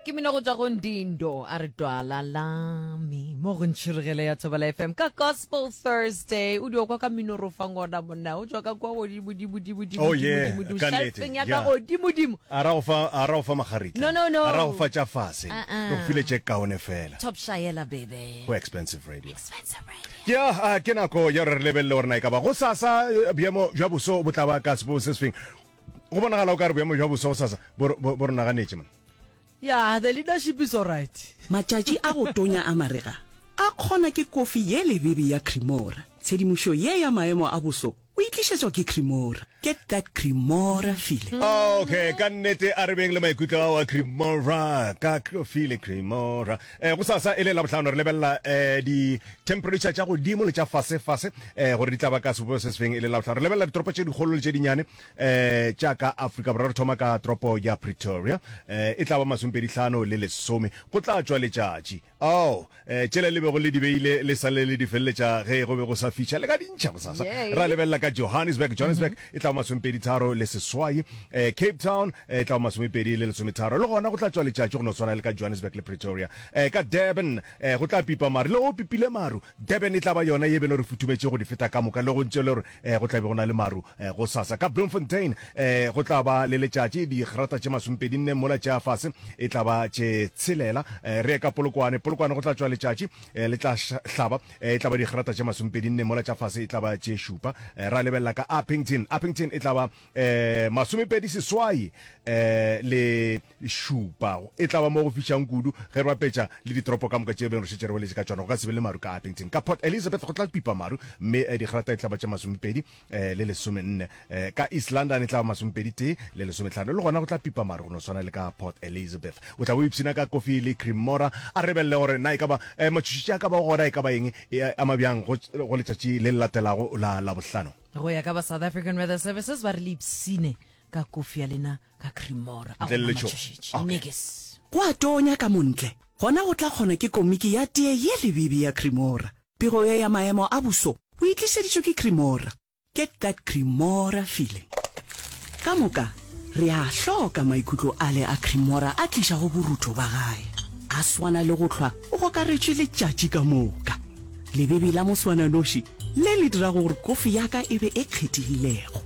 Ke mino go tšwa go Ndindo a re twala lami mo go ntšhirigele ya Thobela FM ka Gospel Thursday. O dio kwa ka mino ro fang ona monna o tšwa ka kwa godimo dimo dimo dimo Oh yeah, dimo dimo ka nnete, shelfeng ya ka yeah. godimo dimo. A ra go fa a ra go fa magaritla. No, no, no. A ra go fa tša fase. Uh-uh. Re go file tše kaone fela. Top shaela baby. Go expensive radio. Expensive radio. Ke a a, ke nako ya gore re lebelele gore na e ka ba gosasa eh, boemo bja boso bo tla ba ka sebo se sefeng. Go bonagala o ka re boemo bja boso gosasa bo re- bo bo re naganetše man. Yeah, the leadership is alright. Matšatši a go tonya a marega a kgona ke kofi ye lebebe ya Cremora. Tshedimošo ye ya maemo a boso o e tlišetšwa ke Cremora. Get that Cremora feeling. Okay, ka nnete a re beng le maikutlo ao a Cremora, ka kofi le Cremora. Eh, gosasa e le Labohlano re lebelela eh, di-temperature tša godimo le tša fase-fase eh, gore di tla ba ka sebopego se sefeng e le Labohlano. Re lebelela ditoropo tše dikgolo le tše dinnyane eh, tša ka Afrika Borwa. Re thoma ka toropo ya Pretoria, eh, e tla ba masomepedihlano le lesome, go tla tšwa letšatši. Ao, eh, tšela le bego le di beile le sa le le di feleletša ge go be go sa fiša, le ka di ntšha gosasa. Ra lebelela ka Johannesburg, Johannesburg e tla ba masomepeditharo le seswai, eh, Cape Town eh, e tla ba masomepedi le lesometharo, le gona go tla tšwa letšatši go no swana le ka Johannesburg le Pretoria. Eh, ka Durban eh, go tla pipa maru, le go pipile maru, Durban e tla ba yona ye beno re futhumetše go di feta ka moka, le go ntše le gore eh, go tla be go na le maru eh, gosasa. Ka Bloemfontein eh, go tla ba le letšatši, digrata tše masomepedinne, mola tša fase e tla ba tše tshelela. Eh, re ye ka Polokwane, Polokwane go tla tšwa letšatši, eh, le tla hlaba, eh, e tla ba digrata tše masomepedinne, mola tša fase e tla ba tše šupa. Eh, ra lebelela ka Upington, Upington e tla ba eh, masomepedi seswai eh, le šupa. E tla ba mo go fišang kudu ge re bapetša le ditoropo ka moka tše beng re šetše re boletše ka tšona. Go ka se be le maru ka Upington. Ka Port Elizabeth go tla pipa maru mme digrata e tla ba tše masomepedi le lesomenne. Ka East London e tla ba masomepedi tee le lesometlhano. Le gona go tla pipa maru go no swana le ka Port Elizabeth. O tla bo ipshina ka kofi le Cremora. A re lebelele gore na e ka ba matšhošetši a ka bago gona e ka ba eng, e ama bjang go go letšatši le le latelago la Labohlano. Go ya ka ba South African Weather Services ba re le ipshine ka kofi ya lena ka Cremora. A Ntle le gona letšhogo. matšhošetši. Okay. Nikis. Go a tonya ka montle, gona go tla kgona ke komiki ya tee ye lebebe ya Cremora. Pego ye ya maemo a boso o e tlišeditšwe ke Cremora. Get that Cremora feeling. Ka moka re a hloka maikutlo ale a Cremora a tlišago borutho ba gae. A swana le go hlwa o gokaretšwe letšatši ka moka. Lebebe la moswananoši le le dirago gore kofi ya ka e be e kgethegilego.